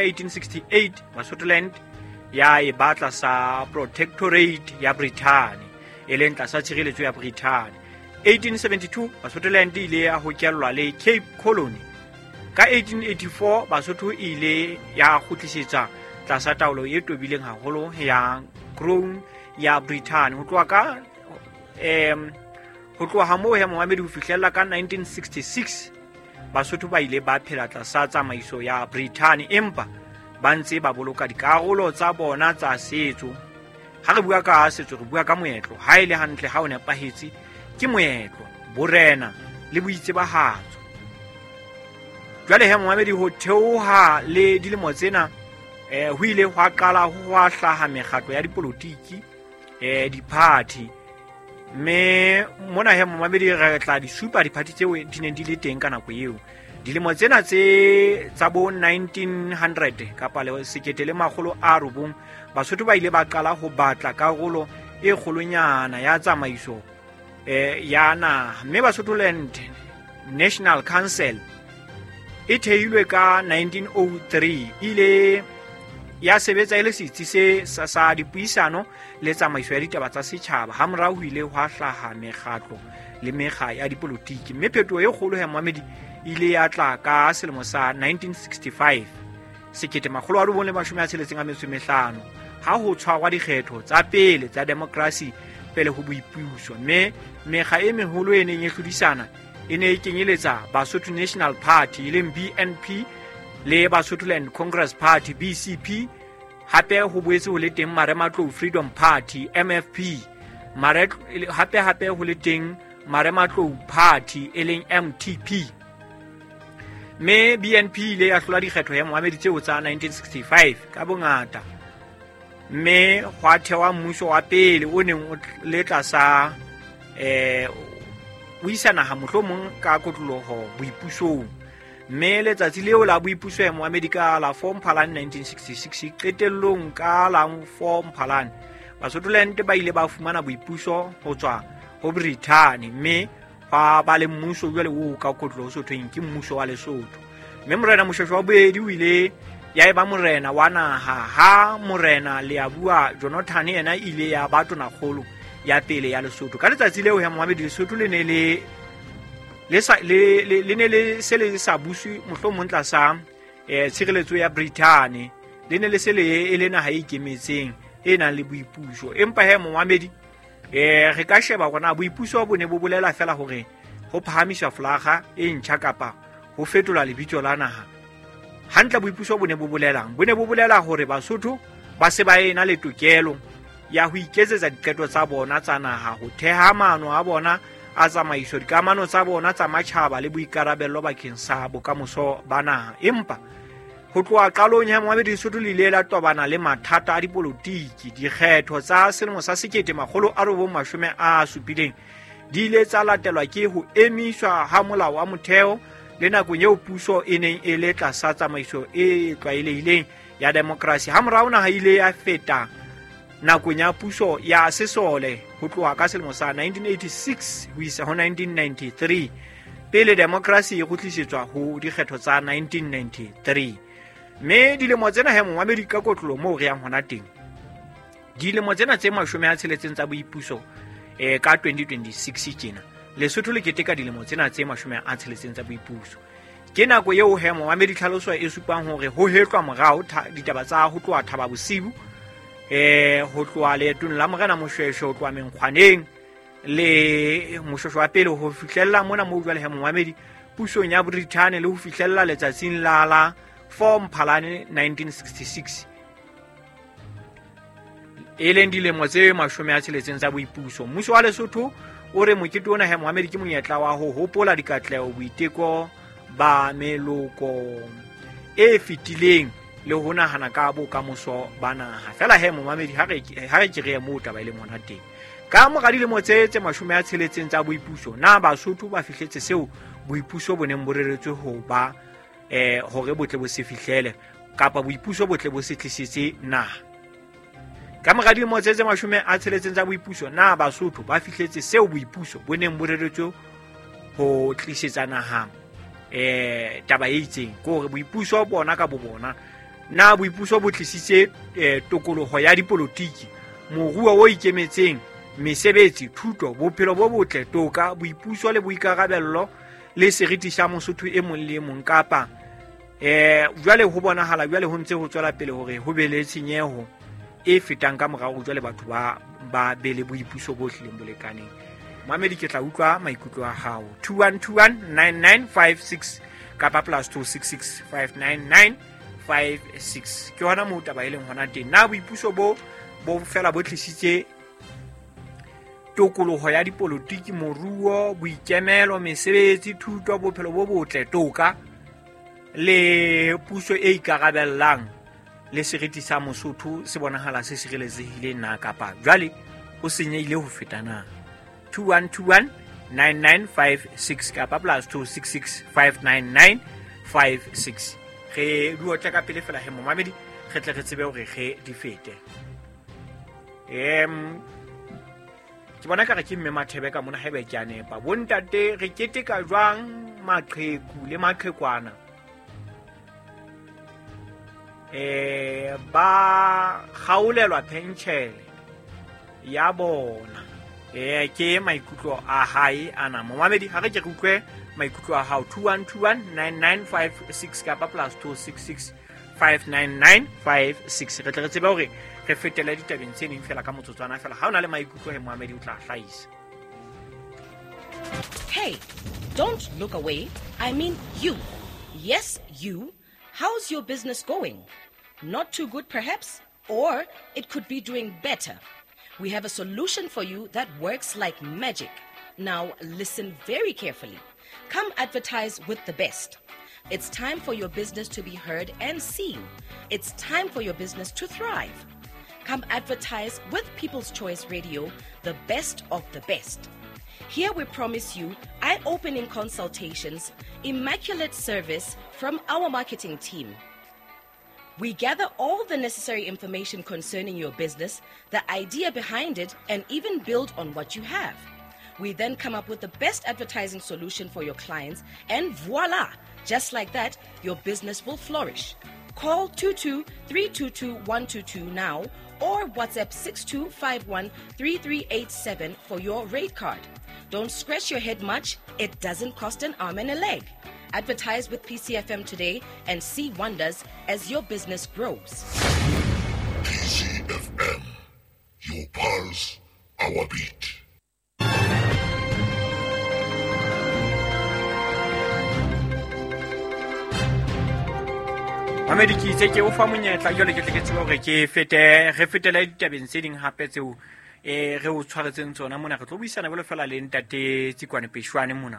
1868 Basotholand ya e ba tlasa protectorate ya Brithani, e leng tlasa tshireletso ya Brithani. 1872 Basotholand e ile ya hokellwa le Cape Colony. Ka 1884 Basotho e ile ya kgutlisetsa tlasa taolo e tobileng haholo ya Crown ya Brithani. Ho tloha ka ho tloha moo ya momamedi ho fihlella ka 1966 Basotho ba ile ba phela tlasa tsamaiso ya Brithani, empa ba ntse ba boloka dikarolo tsa bona tsa setso. Ha re bua ka setso, re bua ka moetlo. Ha e le hantle, ha o nepahetse, ke moetlo, borena le boitsebahatso. Jwale he momamedi, ho theoha le dilemo tsena ho ile hwa qala ho hwa hlaha mekgatlo ya dipolotiki, diphathi. Mme mona he momamedi re tla di supa diphathi tseo di neng di le teng ka nako eo. Dilemo tsena tse tsa bo 1900 kapa le 1900, Basotho ba ile ba qala ho batla karolo e kgolonyana ya tsamaiso ya naha. Mme Basotholand National Council e thehilwe ka 1903, ile ya sebetsa e le setsi se sa dipuisano le tsamaiso ya ditaba tsa setjhaba. Hamorao ho ile hwa hlaha mekgatlo le mekga ya dipolotiki, mme phetoho e kgolo ya momamedi ile ya tla ka selemo sa 1965, 1965, ha ho tshwarwa dikgetho tsa pele tsa demokrasi pele ho boipuso. Mme mekga e meholo e neng e hlodisana e ne e kenyeletsa Basotho National Party e leng BNP le Basotholand Congress Party BCP. Hape ho boetse ho le teng Marematlou Freedom Party MFP, hape hape ho le teng Marematlou Party e leng MTP. Mme BNP ile ya hlola dikgetho ya moamedi tseo tsa 1965 ka bongata, mme hwa thewa mmuso wa pele o neng o le tlasa o isa naha mohlomong ka kotloloho boipusong. Mme letsatsi leo la boipuso ya moamedi ka la 4 Mphalane 1966, qetellong ka la 4 Mphalane Basotholand ba ile ba fumana boipuso ho tswa ho Brithani, mme ba ba le mmuso jwale o ka kotlo ho sothweng ke mmuso wa Lesotho. Mme morena Moshweshwe wa bobedi o ile ya eba morena wa naha, ha morena Leabua Jonathan yena ile ya ba tonakgolo ya pele ya Lesotho. Ka letsatsi leo ya moamedi, Lesotho le ne le le sa le le ne le se le sa buswe mohlomong tlasa tshireletso ya Brithani, le ne le se le e le naha e ikemetseng e nang le boipuso. Empa he momamedi, re ka sheba hore na boipuso bo ne bo bolela fela hore ho phahamiswa folaga e ntjha kapa ho fetola lebitso la naha. Hantle boipuso bo ne bo bolelang? Bo ne bo bolela hore Basotho ba se ba ena le tokelo ya ho iketsetsa diqeto tsa bona tsa naha, ho theha maano a bona a tsamaiso, dikamano tsa bona tsa matjhaba le boikarabello bakeng sa bokamoso ba naha. Empa ho tloha qalong ya moamedi, Lesotho le ile la tobana le mathata a dipolotiki. Dikgetho tsa selemo sa 1970 di ile tsa latelwa ke ho emiswa ha molao wa motheo le nakong eo puso e neng e le tlasa tsamaiso e tlwaelehileng ya demokrasi. Hamorao naha ile ya feta nakong ya puso ya sesole ho tloha ka selemo sa 1986 ho isa ho 1993, pele demokrasi e kgutlisetswa ho dikgetho tsa 1993. Mme dilemo tsena he momamedi, ka kotlolo moo re yang hona teng, dilemo tsena tse 60 tsa boipuso, ka 2026 tjena Lesotho le keteka dilemo tsena tse 60 tsa boipuso. Ke nako eo he momamedi tlhaloso e supang hore ho hetlwa morao ditaba tsa ho tloha Thaba Bosiu, ho tloha leetong la morena Moshweshwe, ho tloha Menkgwaneng le Moshweshwe wa pele ho fihlella mona moo jwale he momamedi pusong ya Brithani, le ho fihlella letsatsing la la 4 Mphalane 1966, e leng dilemo tse 60 tsa boipuso. Mmuso wa Lesotho o re mokete ona he moamedi ke monyetla wa ho hopola dikatleho, boiteko ba meloko e fetileng le ho nahana ka bokamoso ba naha. Fela he momamedi, ha re ke re ye moo taba e leng hona teng. Ka mora dilemo tse 60 tsa boipuso, na Basotho ba fihletse seo boipuso bo neng bo reretswe ho ba hore botle bo se fihlele, kapa boipuso botle bo se tlisetse naha? Ka mora dilemo tse 60 tsa boipuso, na Basotho ba fihletse seo boipuso bo neng bo reretswe ho tlisetsa naha taba e itseng? Ke hore boipuso bona ka bo bona Na boipuso bo tlisitse tokoloho ya dipolotiki, moruo o ikemetseng, mesebetsi, thuto, bophelo bo botle, toka, boipuso le boikarabello le seriti sa Mosotho e mong le e mong, kapa jwale ho bonahala jwale ho ntse ho tswela pele hore ho be le tshenyeho e fetang ka morao jwale batho ba be le boipuso bo hlileng bo lekaneng. Mamedi, ke tla utlwa maikutlo a hao. 21219956 kapa +266 59956. Ke hona moo taba e leng hona teng. Na boipuso bo fela bo tlisitse tokoloho ya dipolotiki, moruo, boikemelo, mesebetsi, thuto, bophelo bo botle, toka le puso e ikarabellang le seriti sa Mosotho se bonahala se sireletsehileng na, kapa jwale ho senyehile ho feta na? 21219956 kapa +266 59956. Re di otle ka pele fela he momamedi, re tle re tsebe hore re di fete. Ke bona ka re ke mme Mathebe ka mona, haeba ke a nepa. Bontate, re keteka jwang maqheku le maqhekwana ba kgaolelwa penshele ya bona? Ke maikutlo a hae ana. Momamedi, ha re ke re utlwe maikutlo a hao. 21219956 kapa +266 59956. Re tle re tsebe hore re fetele ditabeng tse ding fela ka motsotswana fela. Ha o na le maikutlo he momamedi, o tla hlahisa. Hey, don't look away. I mean you. Yes, you. How's your business going? Not too good perhaps, or it could be doing better. We have a solution for you that works like magic. Now listen very carefully. Come advertise with the best. It's time for your business to be heard and seen. It's time for your business to thrive. Come advertise with People's Choice Radio, the best of the best. Here we promise you eye-opening consultations, immaculate service from our marketing team. We gather all the necessary information concerning your business, the idea behind it, and even build on what you have. We then come up with the best advertising solution for your clients, and voila! Just like that, your business will flourish. Call 22-322-122 now or WhatsApp 6251-3387 for your rate card. Don't scratch your head much. It doesn't cost an arm and a leg. Advertise with PCFM today and see wonders as your business grows. PCFM, your pulse, our beat. Mamedi, ke itse ke o fa monyetla jwale ke tle ke tsebe hore ke fete re fetele ditabeng tse ding hape tseo re o tshwaretseng tsona mona. Re tlo buisana jwalo fela le ntate Tsikwane Peshwane mona.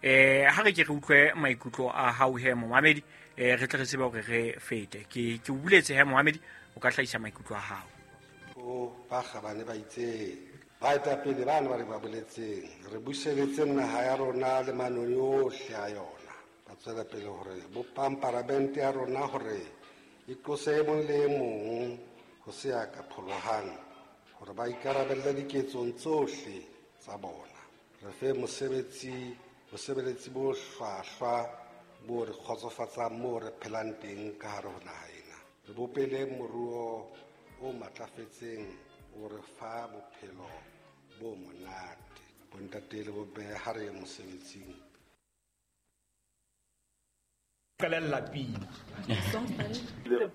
Ha re ke re utlwe maikutlo a hao he momamedi, re tle re tsebe hore re fete. Ke o buletse he momamedi, o ka hlahisa maikutlo a hao. O ba kgabane ba itse baetapele bana ba re ba boletseng, re buseletse naha ya rona le manong yohle a yona. Ba tswela pele hore bopang paramente ya rona hore e qose e mong le e mong ho se ya ka pholohang, hore ba ikarabelle diketsong tsohle tsa bona. Re fe mosebetsi, bosebeletsi bo hlwahlwa bo re kgotsofatsang moo re phelang teng ka hare ho naha ena. Re bopele moruo o matlafetseng o re fa bophelo bo monate. Bontate le bomme, ha re ye mosebetsing. The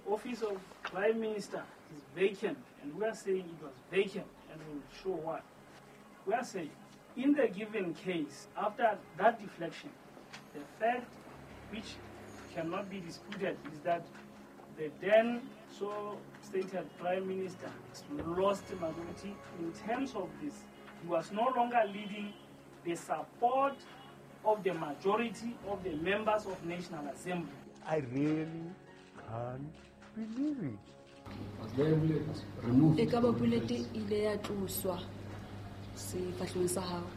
office of Prime Minister is vacant, and we are saying it was vacant, and we will show why. We are saying, in the given case, after that deflection, the fact which cannot be disputed is that the then so stated Prime Minister lost the majority in terms of this. He was no longer leading the support of the majority of the members of National Assembly. I really can't believe it. Was there a bullet removed? E ka ba bullet ile ya tloswa sefahlehong sa hao.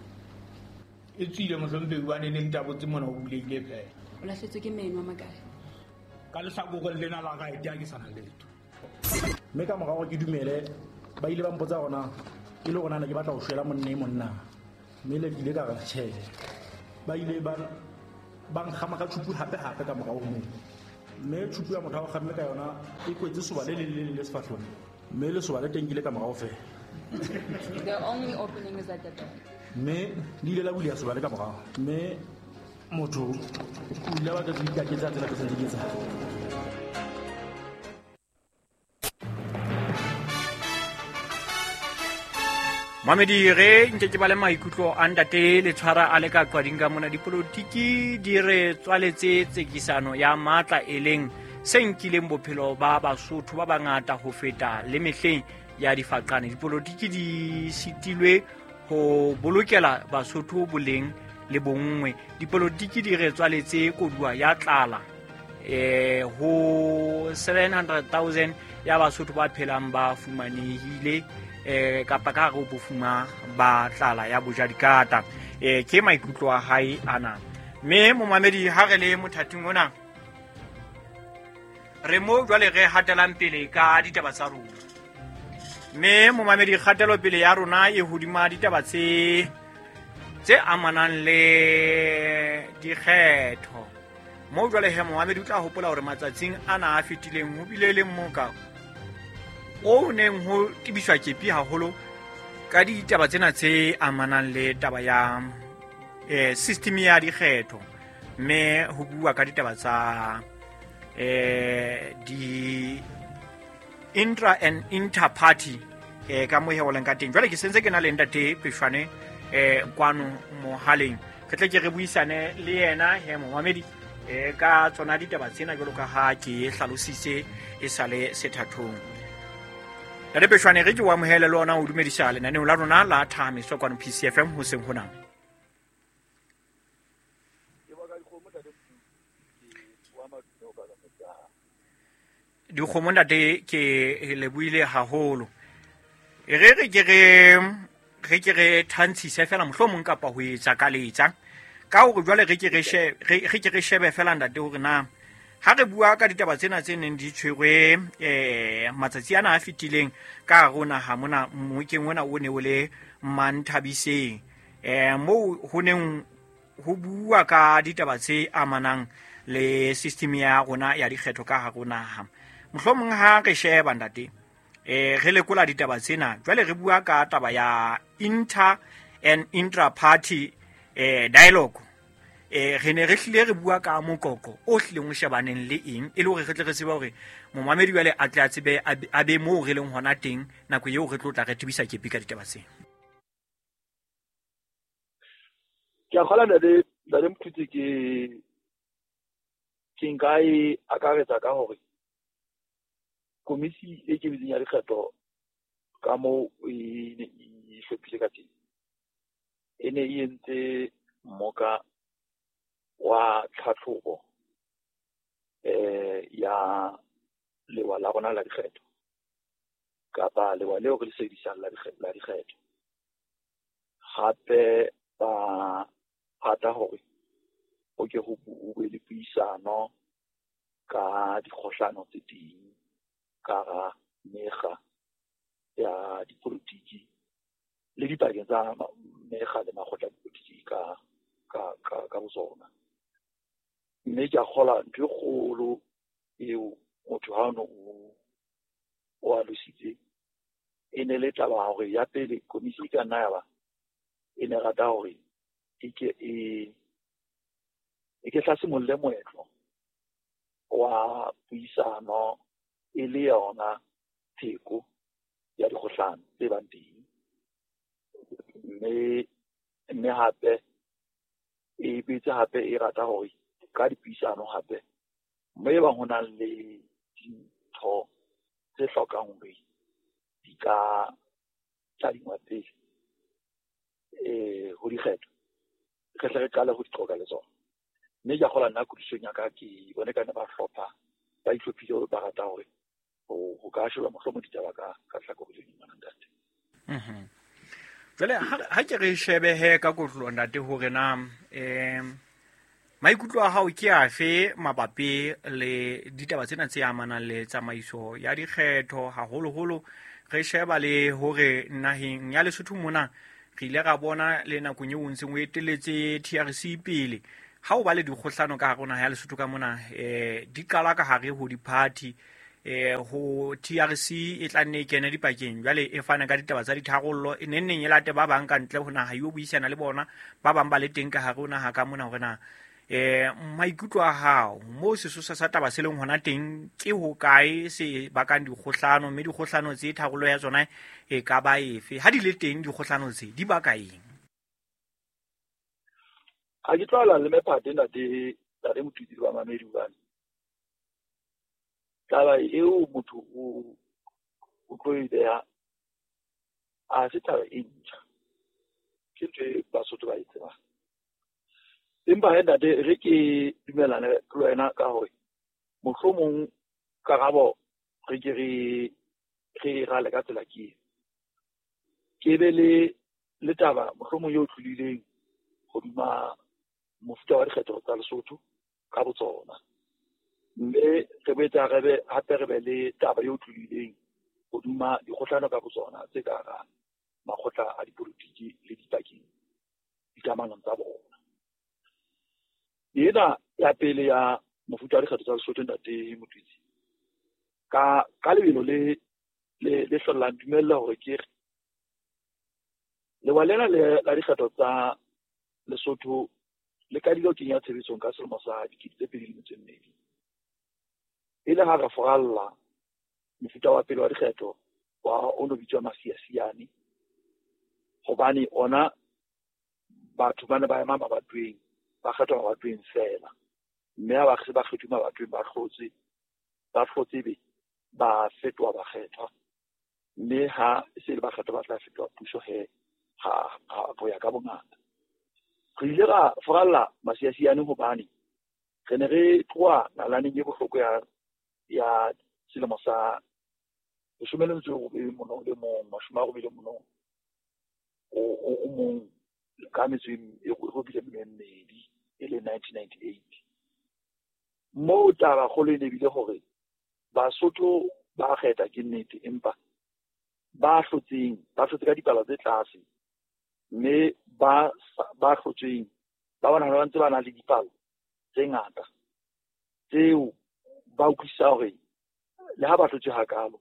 E tswile mohlomphehi hobane ne ntabotse mona o buleile phela. O lahletswe ke meno a makae? Ka lehlakoreng lena la right ha ke sana letho. Mme ka morao ke dumele ba ile ba mpotsa hore e le hore na ke batla ho shwela monna e monna. Mme le ile ka re tjhe. Ba ile ba nkgama ka tjhupu hape hape ka morao ho moo. Mme tšhupu ya motho a go kgamme ka yona e kwetse soba le leng le leng le sefahlong, mme lesoba le teng ke le ka morago fela. The only opening is at the back. Mme le ile la buleya soba le ka morago, mme motho o ile a batla go ikaketsa tsela ke sentse ke tsa. Mamedi, re nke ke ba le maikutlo a ntate le tshwara a le ka qwading ka mona. Dipolotiki di re tswaletse tsekisano ya matla, e leng se nkileng bophelo ba Basotho ba bangata ho feta le mehleng ya difaqane. Dipolotiki di sitilwe ho bolokela Basotho boleng le bonngwe. Dipolotiki di re tswaletse koduwa ya tlala ho 700,000 ya Basotho ba phelang ba fumanehile kapa ka hare ho bofuma ba tlala ya bojadikata. Ke maikutlo a hae ana. Mme momamedi, ha re le mothating ona, re mo jwale re hatelang pele ka ditaba tsa rona. Mme momamedi, kgatelopele ya rona e hodima ditaba tse amanang le dikgetho. Mo jwale he momamedi o tla hopola hore matsatsing ana a fetileng ho bile le mmoka o neng ho tebiswa kepi haholo ka ditaba tsena tse amanang le taba ya system ya dikgetho, mme ho bua ka ditaba tsa di intra and inter party ka mo he ka teng. Jwale ke sentse ke na le ntate Peshwane kwano mohaleng, re tle ke re buisane le yena he momamedi ka tsona ditaba tsena jwalo ka ha ke hlalositse e sale sethathong. Ntate Peshwane, re ke o amohele le ona o dumedisa lenaneo la rona la Thahamiso kwano PCFM hoseng hona. Dikgomo ntate ke lebohile haholo. Re re ke re ke re thantshise fela mohlomong kapa ho etsa ka letsa ka hore jwale re ke re shebe fela ntate hore na ha re bua ka ditaba tsena tse neng di tshwerwe matsatsi ana a fetileng ka hare ho naha mona mmokeng ona o ne o le Manthabiseng, moo ho neng ho bua ka ditaba tse amanang le system ya rona ya dikgetho ka hare ho naha. Mohlomong ha re sheba ntate, re lekola ditaba tsena jwale re bua ka taba ya inter and intra party dialogue. Re ne re hlile re bua ka moqoqo o hlileng o shebaneng le eng, e le hore re tle re tsebe hore momamedi jwale a tle a tsebe a be moo re leng hona teng nako eo re tlo tla re tebisa kepi ka ditaba tsena. Ke a kgolwa ntate Mthutsi, ke nka e akaretsa ka hore komisi e kemetseng ya dikgetho ka moo e ne e hlophile ka teng, e ne e entse mmoka wa tlhatlhobo ya lewa la rona la dikgetho kapa lewa leo re le sebedisang la dikgetho. Hape ba rata hore ho ke ho be le puisano ka dikgohlano tse teng ka hara mekga ya dipolotiki le dipakeng tsa mekga le makgotla a dipolotiki ka botsona. Mme ke a kgolwa ntho e kgolo eo motho ha ono o alositse e ne le taba hore ya pele komisi e ka nna ya ba e ne rata hore e ke e ke hlasimolole moetlo wa puisano e le yona pheko ya dikgohlano tse bang teng. Mme hape e boetse hape e rata hore ka dipuisano hape mme e bang ho na le dintho tse hlokang hore di ka tadingwa pele ho dikgetho, re hle re qale ho di qoqa le tsona. Mme ke a kgolwa nna kutlwisisong ya ka ke bone ka ne ba hlopha, ba itlhophile, ba rata hore ho ka sheba mohlomong ditaba ka tlhakore le leng ntate. Jwale ha ke re shebehe ka kotlolo ntate hore na maikutlo a hao ke afe mabapi le ditaba tsena tse amanang le tsamaiso ya dikgetho, haholoholo re sheba le hore naheng ya Lesotho mona re ile ra bona le nakong eo o ntseng o eteletse TRC pele, Ha o ba le dikgohlano ka hare ho naha ya Lesotho ka mona, di qala ka hare ho di-party, ho TRC e tla nne e kene dipakeng, jwale e fane ka ditaba tsa ditharollo, e neng neng e late ba bang ka ntle ho naha, yo buisana le bona ba bang ba le teng ka hare ho naha ka mona hore na maikutlo a hao moo sesosa sa taba se leng hona teng ke hokae se bakang dikgohlano, mme dikgohlano tse tharollo ya tsona e ka ba efe? Ha di le teng dikgohlano tse di baka eng? Ha ke tlwaela le mephate ntate Motwitsi le bamamedi, hobane taba eo motho o tlo e beha ha se taba e ntjha, ke ntho e Basotho ba e tsebang. Empa he ntate, re ke dumellane le wena ka hore mohlomong karabo re ke re e rale ka tsela ke ke be le taba mohlomong eo tlolileng hodima mofuta wa dikgetho tsa Lesotho ka botsona, mme re boetse re be hape re be le taba eo tlolileng hodima dikgohlano ka botsona tse ka hara makgotla a dipolitiki le dipakeng dikamanong tsa bona. Ena ya pele ya mofuta wa dikgetho tsa Lesotho, ntate Motwitsi, ka lebelo le hlollang dumella hore ke re lewa lena la dikgetho tsa Lesotho le qadile ho kenya tshebetsong ka selemo sa 2002, e le ha re foralla mofuta wa pele wa dikgetho wa o no bitswa masiasiane, hobane ona batho ba ne ba ema mabatoweng, ba kgethwa mabatoweng fela, mme ha ba se ba kgethuwe mabatoweng ba hlotse be ba fetoha bakgethwa, mme ha se le bakgethwa ba tla fetoha puso he ha ho ya ka bongata. Re ile ra foralla masiasiane hobane re ne re tloha nalaneng e bohloko ya selemo sa 1881 ka metso e robile e mmedi, e le 1998. Moo taba kgolo e ne bile hore Basotho ba kgetha ke nnete, empa ba hlotseng ba hlotse ka dipalo tse tlase, mme ba hlotsweng ba bona ba ntse ba na le dipalo tse ngata tseo ba utlwisisa hore le ha ba hlotswe hakalo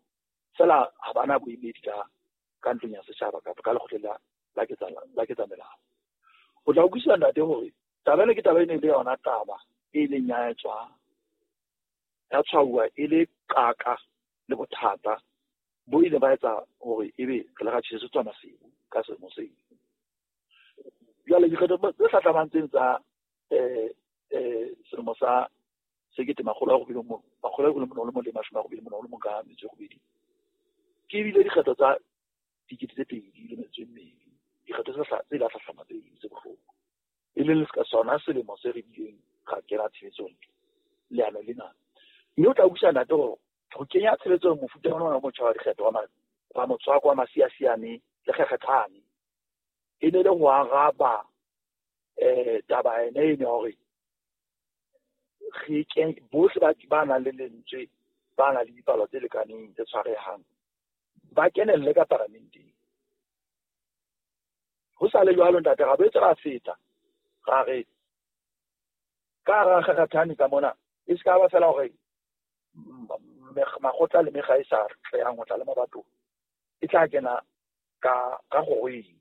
fela ha bana boemedi ka ntlong ya setjhaba kapa ka lekgotleng la ketsamelao. O tla utlwisisa ntate hore taba ena ke taba e ne le yona taba e leng ya etswa ya tshwauwa e le qaka le bothata bo ile ba etsa hore ebe re le ra tjhesetswa masiu ka selemo seo. Jwale dikgetho tse hlahlamang tseno tsa selemo sa 1991 ka metso e robedi ke bile dikgetho tsa 2002, dikgetho tse la hlahlama tse bohloko, e leng ka sona selemo se re bileng ra kena tshebetsong leano lena. Mme o tla utlwisisa ntate hore ho kenya tshebetsong mofuta ona wa motjha wa dikgetho wa motswako wa masiasiane le kgekgethane e ne le ho araba taba ena ene hore re bohle ba nang le lentswe, ba nang le dipalo tse lekaneng tse tshwarehang ba kenelle ka paramenteng. Ho sa le jwalo ntate, ra boetse ra feta ra re ka hara kgekgethane ka mona e se ka ba fela hore makgotla le mekga e sa tlehang ho tla le mabatong e tla kena ka kgorong.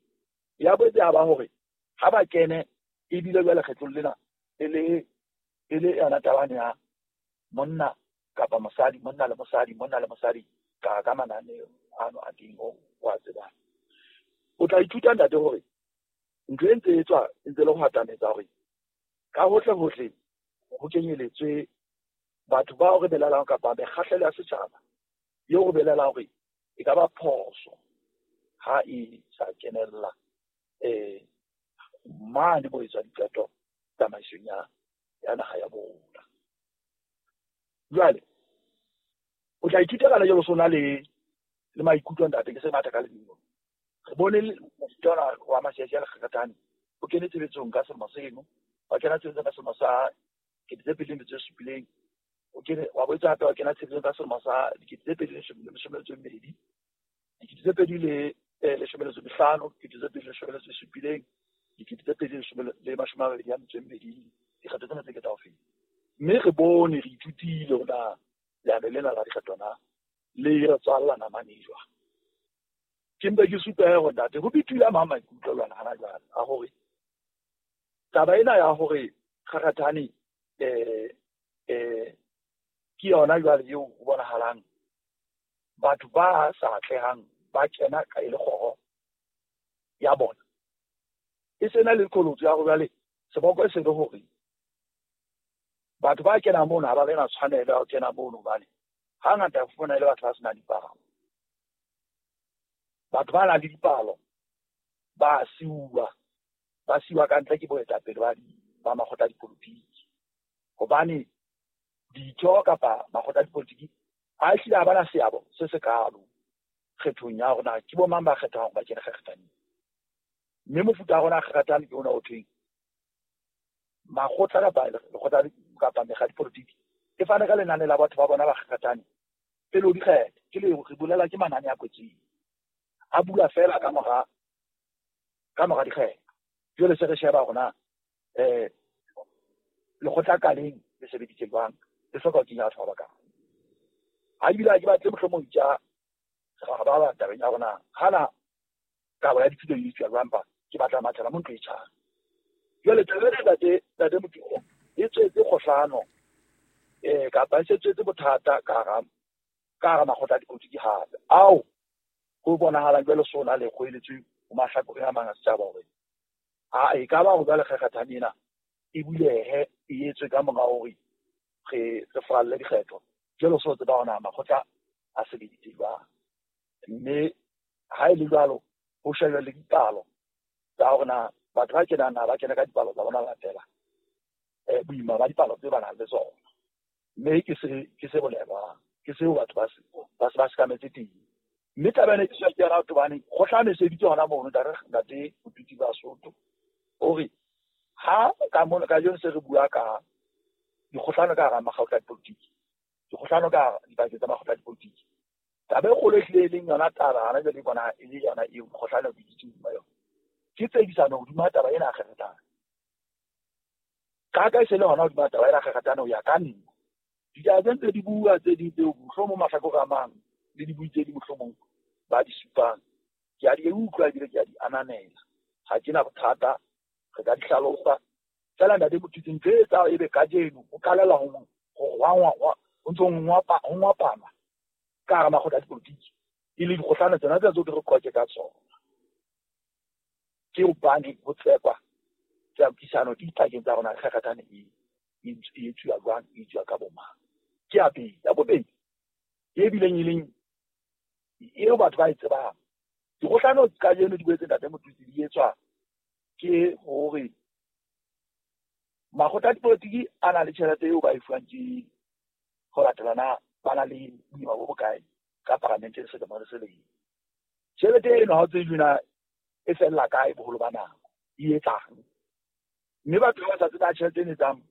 Ya boetse ya ba hore ha ba kene ebile jwale kgetlong lena e le yona tabane ya monna kapa mosadi, monna le mosadi, monna le mosadi ka mananeo ano a teng o a tsebang. O tla ithuta ntate hore ntho e ntse e tswa e ntse le ho atametsa hore ka hohle hohle ho kenyeletswe batho bao re belaelang kapa mekgahlelo ya setjhaba eo re belaelang hore e ka ba phoso ha e sa kenella mane mo etswa diqeto tsamaisong ya naha ya bona. Jwale o tla ithuta kana jalo sona le maikutlo ntate, ke se matha ka lebelo. Re bone mofuta ona wa masiasi a lekgekgethane o kene tshebetsong ka selemo seno, wa kena tshebetsong ka selemo sa 2007, o kene wa boetse hape wa kena tshebetsong ka selemo sa 2012, 2015, 2017, 2022. Dikgetho tsena tse ke tsa ho feta. Mme re bone re ithutile hore na leano lena la dikgetho na le re tswalla namane jwang. Ke mpe ke supe hore ntate ho bituile a mang maikutlo jwana hana jwale a hore taba ena ya hore Kgakgathane ke yona jwale eo ho bonahalang batho ba sa atlehang ba kena ka e le kgoro ya bona. E sena le qholotso ya hore jwale seboko e se le hore batho ba kenang mono ha ba na tshwanelo ya ho kena mono hobane hangata o fumana e le batho ba senang dipalo. Batho ba nang le dipalo ba siuwa, ba siuwa ka ntle ke boetapele ba makgotla a dipolotiki. Hobane ditho kapa makgotla a dipolotiki a hlile ha ba na seabo se sekalo kgethong ya rona ke bo mang ba kgethwang hore ba kene kgakgathaneng. Mme mofuta wa rona kgakgathane ke ona o thweng makgotla kapa lekgotla kapa mekga ya dipolotiki e fane ka lenane la batho ba bona ba kgakgathane pele ho dikgetho. Ke le re bolela ke manane a kwetseng a bula fela ka mora dikgetho. Jwale se re sheba hore na lekgotla ka leng le sebeditse jwang, le hloka ho kenya batho ba bakae. Ha ebile ha ke batle mohlomong tja ba ba tabeng ya rona hana kabo ya dithuto e tswa jwang, ke batla mathela mo ntlo e tjhang. Jwale taba ena ntate Motho e tswetse kgohlano kapa e se tswetse bothata ka hara makgotla a dipolotiki hape ao ho bonahalang jwale sona le kgoeletswe ho mahlakoreng a mang a setjhaba hore a e ka ba hore jwale kgakgathane ena e bulehe e etswe ka mora hore re falle dikgetho. Jwale so tseba hore makgotla a sebeditse jwang, mme ha e le jwalo ho shejwa le dipalo tsa hore na batho ba kenang na ba kena ka dipalo tsa bona latela boima ba dipalo tse ba nang le tsona. Mme ke se bolelwang, ke seo batho ba se sekametse teng. Mme taba ena ke se ke yona hobane kgohlano e sebeditse hona mono ntate Motutsi ba Sotho hore ha ka mono kajeno se re bua ka dikgohlano ka hara makgotla a dipolotiki, dikgohlano ka dipakeng tsa makgotla a dipolotiki. Taba e kgolo e hlile e leng yona taba hana jwale e bona e le yona eo kgohlano e biditsweng hodima yona ke tsekisano hodima taba ena ya kgakgathane. Ka e se le hona hodima taba ena ya kgakgathane ho ya ka nna. Ditaba tse ntse di bua tse ding tseo mohlomong mahlakore a mang le dibui tse ding mohlomong ba di supang ke a di utlwa ebile ke a di ananela. Ha ke na bothata, re ka di hlalosa. Feela ntate Motutsi ntho e etsang ebe kajeno ho qalela ho ntso ho ngwapana ka hara makgotla a dipolotiki e le dikgohlano tsona tseo ke re qoke ka tsona. Ke hobane ho tsekwa tsekisano dipakeng tsa rona kgakgathane e etsuwa jwang, e etsuwa ka bo mang. Ke ya pele. Ya bobedi e bileng e leng eo batho ba e tsebang, dikgohlano kajeno di boetse ntate Motutsi di etswa ke hore makgotla a dipolotiki a na le tjhelete eo ba e fuwang ke ho latela na ba na le boima bo bokae ka paramenteng selemo le selemo. Tjhelete eno ha o tsebe na e fella kae boholo ba nako, e etsang. Mme batho ba sa tsebe tjhelete ena e etsang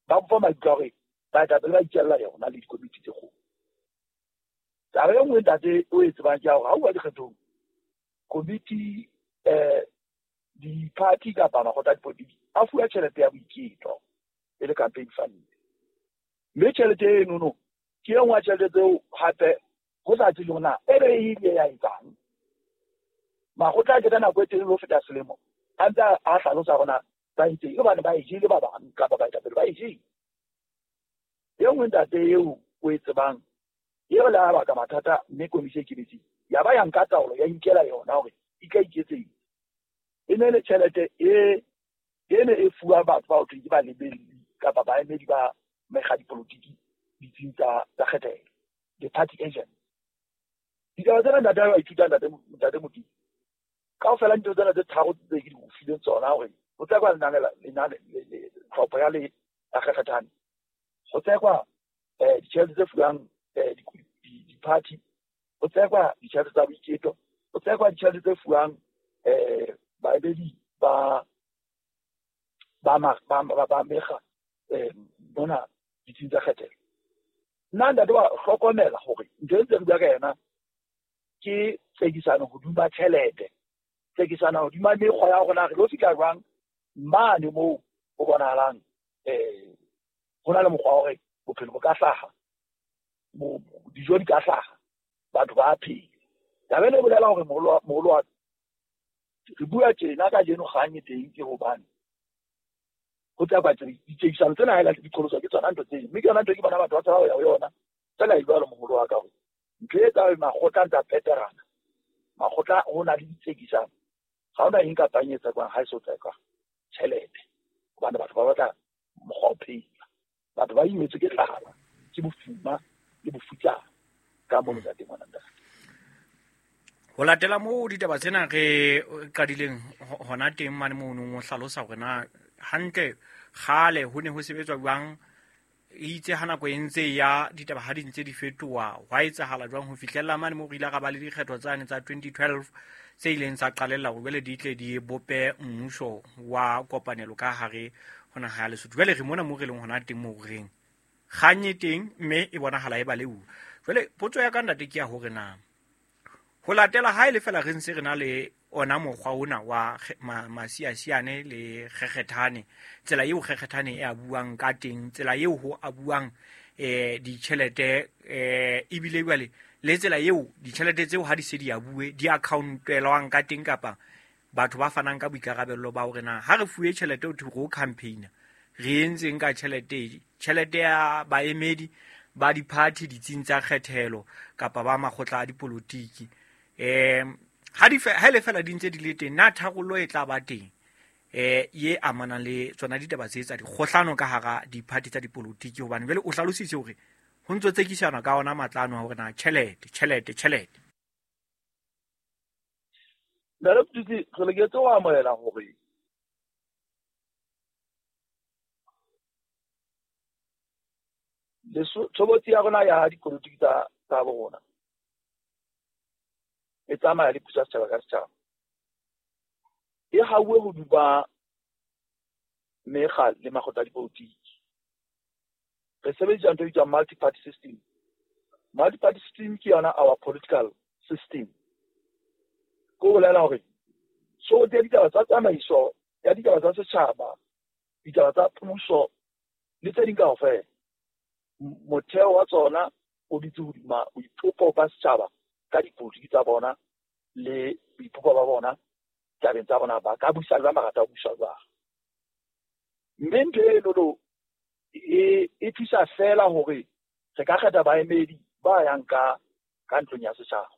ba bopa maikutlo a hore baetapele ba itjella yona le dikomiti tse kgolo. Taba e nngwe ntate o e tsebang ke ya hore ha o bua dikgethong komiti di-party kapa makgotla a dipolotiki a fuwa tjhelete ya boiketlo e le campaign fund. Mme tjhelete enono ke e nngwe ya tjhelete tseo hape ho sa tsejwe hore na e be e ile ya etsang. Makgotla a keta nako e telele ho feta selemo a ntse a hlalosa hore na ba itseng hobane ba e jele ba bang kapa baetapele ba e jele. E nngwe ntate eo o e tsebang eo le a baka mathata mme komisi e kemetseng ya ba ya nka taolo ya inkela yona hore e tla iketseng. E ne le tjhelete e ne e fuwa batho ba ho thweng ke balebelli kapa baemedi ba mekga dipolotiki ditsing tsa kgethelo, the party agent. Ditaba tsena ntate wa ithuta ntate Motutsi kaofela dintho tsena tse tharo tse ke di o fileng tsona hore ho tsekwa lenane tlhopho ya le ya kgakgathane, ho tsekwa ditjhelete tse fuwang di-party, ho tsekwa ditjhelete tsa boiketlo, ho tsekwa ditjhelete tse fuwang baemedi ba mekga mona ditsing tsa kgethelo. Nna ntate wa hlokomela hore ntho e ntse re bua ka yona ke tsekisano hodima tjhelete, tsekisano hodima mekgwa ya hore na re lo fihla jwang mane moo ho bonahalang Ho na le mokgwa wa hore bophelo bo ka hlaha, dijo di ka hlaha, batho ba phela. Taba ena e bolela hore moholo wa re bua tjena kajeno kgang e teng ke hobane ho tla kwa ditsekisano tsena ha e di qholoswa ke tsona ntho tseo, mme ke yona ntho ke bona batho ba tshaba ho ya ho yona fela e jwalo moholo wa ka hore ntho e tsa makgotla ntsa peterana makgotla ho na le ditsekisano ga ona eng kapa eng e tsekwang ha e so tsekwa tjhelete, hobane batho ba batla mokgwa o phela, batho ba imetswe ke tlala, ke bofuma le bofutsana ka mono ntate ngwana ntate. Ho latela moo ditaba tsena re qadileng hona teng mane mono o hlalosa hore na hantle kgale ho ne ho sebetswa jwang, itse ha nako e ntse ya ditaba ha di ntse di fetoha hwa etsahala jwang ho fihlella mane moo re ile ra ba le dikgetho tsane tsa 2012 tse ileng tsa qalella hore jwale di tle di bope mmuso wa kopanelo ka hare ho naha ya Lesotho. Jwale re mona moo re leng hona teng moo reng kgang e teng mme e bonahala e baleuwa. Jwale potso ya ka ntate ke ya hore na ho latela ha e le fela re ntse re na le ona mokgwa ona wa masiasiane le kgekgethane, tsela eo kgekgethane e a buang ka teng, tsela eo ho a buang ditjhelete ebile jwale le tsela eo ditjhelete tseo ha di se di a bue di account-elwang ka teng, kapa batho ba fanang ka boikarabello ba hore na ha re fuwe tjhelete ho thwe ro campaigner re entseng ka tjhelete, tjhelete ya baemedi ba di-party ditsing tsa kgethelo kapa ba makgotla a dipolotiki. Ha le fela di ntse di le teng, na tharollo e tla ba teng ye amanang le tsona ditaba tse tsa dikgohlano ka hara di-party tsa dipolotiki? Hobane jwale o hlalositse hore ho ntso tsekisana ka ona matlano a hore na tjhelete tjhelete tjhelete. Ntate Mothusi, re loketse ho amohela hore tshobotsi ya rona ya dipolotiki tsa bo rona e tsamaya le puso ya setjhaba ka setjhaba, e hauwe hodima mekga le makgotla a dipolotiki. Re sebedisa ntho e bitswang multi-party system. Multi-party system ke yona our political system. Ke ho bolela hore tshobotsi ya ditaba tsa tsamaiso ya ditaba tsa setjhaba, ditaba tsa puso le tse ding kaofela, motheo wa tsona o dutse hodima boipopo ba setjhaba ka dipolotiki tsa bona le boipopo ba bona tabeng tsa bona, ba ka busa jwang, ba rata ho busa jwang. Mme ntho eno e thusa fela hore re ka kgetha baemedi ba yang ka ntlong ya setjhaba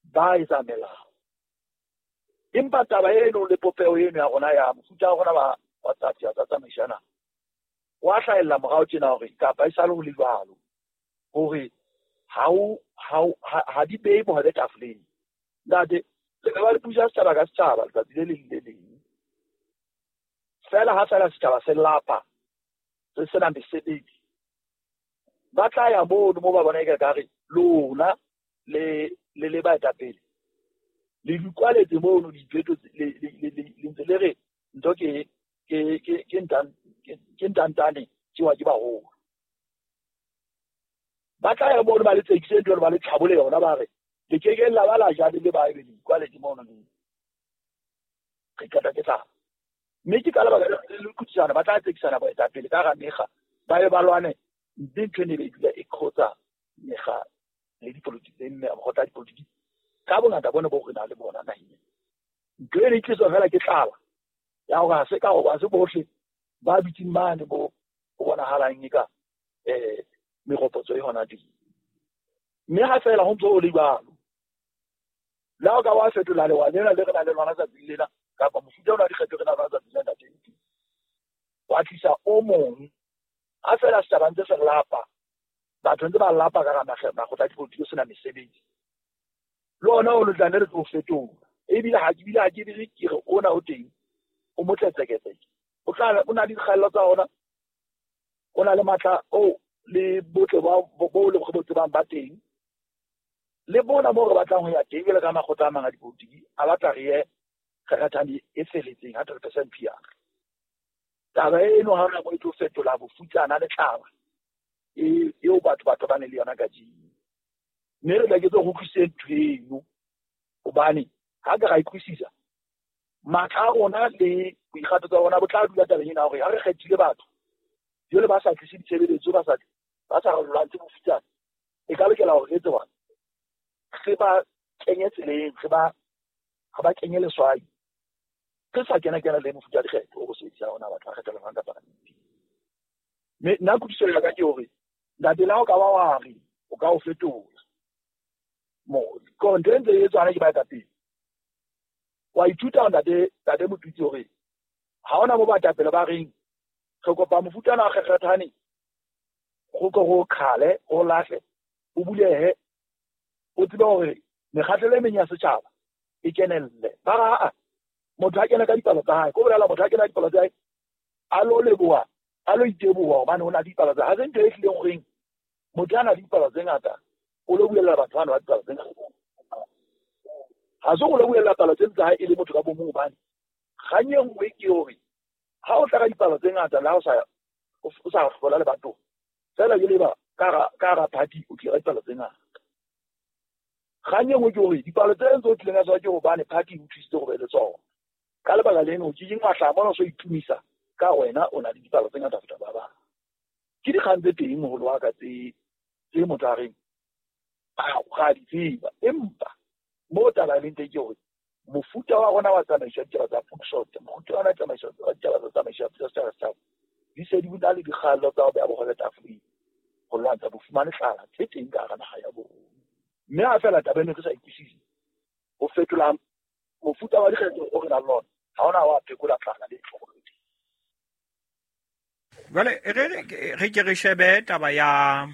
ba etsa melao. Empa taba eno le popeho eno ya rona ya mofuta wa rona wa tsa tsamaisana wa hlahella morao tjena hore kapa e sale ho le jwalo hore ha di behe bohobe tafoleng. Ntate, le ka ba le puso ya setjhaba ka setjhaba letsatsi le leng le leng fela, ha fela setjhaba se lapa se sena mesebetsi, ba tla ya mono mo ba bona eka kare lona le le baetapele le dikwaletse mono dipheto le ntse le re ntho ke ntantane tsewa ke baholo. Ba tla ya mono ba le tsekise ntho ba le tlhabole yona, ba re le keke la ba la ja le ba ebe dikwaletse mono le re qeta ke tlala. Mme ke ka lebaka le kutsana ba tla tsekisana baetapele ka hara mekga, ba ye ba lwane, mme ntho ene e be dula e qhotsa mekga le dipolotiki le mekgotla ya dipolotiki ka bongata bone bo re nang le bona naheng. Ntho ene e tliswa fela ke tlala ya hore ha se ka ha se bohle ba dutseng mane bo ho bonahalang eka meropotso e hona teng. Mme ha fela ho ntso ho le jwalo, le ha o ka wa fetola lewa lena le re nang le lona tsatsing lena kapa mofuta ona wa dikgetho re nang le lona tsatsing lena ntate, wa tlisa o mong. Ha fela setjhaba ntse se lapa, batho ntse ba lapa ka hara makgotla a dipolotiki sena mesebetsi, le ona o tla nne re tlo fetola. Ebile ha ke bile ha ke bile ke re ona o teng o motletseketseke, o tla o na le dikgaello tsa ona, o na le matla o le botle bo le bo tsebang ba teng, le bona moo re batlang ho ya teng jwalo ka makgotla a mang a dipolotiki a batla re ye kgekgethane e feletseng 100% PR. Taba eno ha hona moo e tlo fetola bofutsana le tlala eo batho ba tobane le yona kajeno. Mme re tla ke tlo utlwisise ntho eno, hobane ha ka ra e utlwisisa Matla a rona le boikgathatso ba rona bo tla dula tabeng ena hore ha re kgethile batho jwale ba sa tlise ditshebeletso, ba sa re lwantshe bofutsana, e ka lokela hore re etse jwang? Re ba kenye tseleng, re ba kenye leswai, re sa kena le mofuta wa dikgetho o re sebedisang ona batho ba kgethelwang ka paramenteng. Mme nna kutlwisiso ya ka ke hore ntate le ha o ka ba wa re o ka o fetola mo ntho e ntse e etswana ke baetapele. Wa ithuta ntate Motutsi hore ha hona mo baetapele ba reng re kopa mofuta ona wa kgekgethane go ko go khale o lahle o bulehe o tsebe hore mekgahlelo e meng ya setjhaba e kenelle. Ba ra motho a kena ka dipalo tsa hae, ko bolela motho a kena ka dipalo tsa hae a lo leboha, a lo iteboha hobane o na le dipalo tsa hae. Ha se ntho e hlileng horeng motho a na le dipalo tse ngata o lo buella batho bana ba dipalo tse ngata. Ha se go lo buella palo tse tsa hae e le motho ka bomong, hobane kgang e nngwe ke hore ha o tla ka dipalo tse ngata le ha o sa hlola le batho fela ke leba ka hara party o tlile ka dipalo tse ngata. Kgang e nngwe ke hore dipalo tse ntse o tlileng ka tsona ke hobane party e o thusitse go be le tsona. Ka lebaka leno o ke wa hlaha mona o so itumisa ka wena o na le dipalo tse ngata ho feta ba bang. Ke dikgang tse teng moholo wa ka tse motho a reng ga di tseba, empa mo taba e leng teng ke hore mofuta wa rona wa tsamaiso ya ditaba tsa puso, mofuta wa rona wa tsamaiso ya ditaba tsa tsamaiso ya puso setjhaba setjhaba di se di na le dikgallo tsa ho beha bohole tafoleng ho lwantsha bofumane tlala tse teng ka hara naha ya bo rona. Mme ha fela taba eno re sa ikwisise, ho fetola mofuta wa dikgetho o re nang le ona ha ona wa phekola tlala le tlhokolo. Jwale re ke re shebe taba ya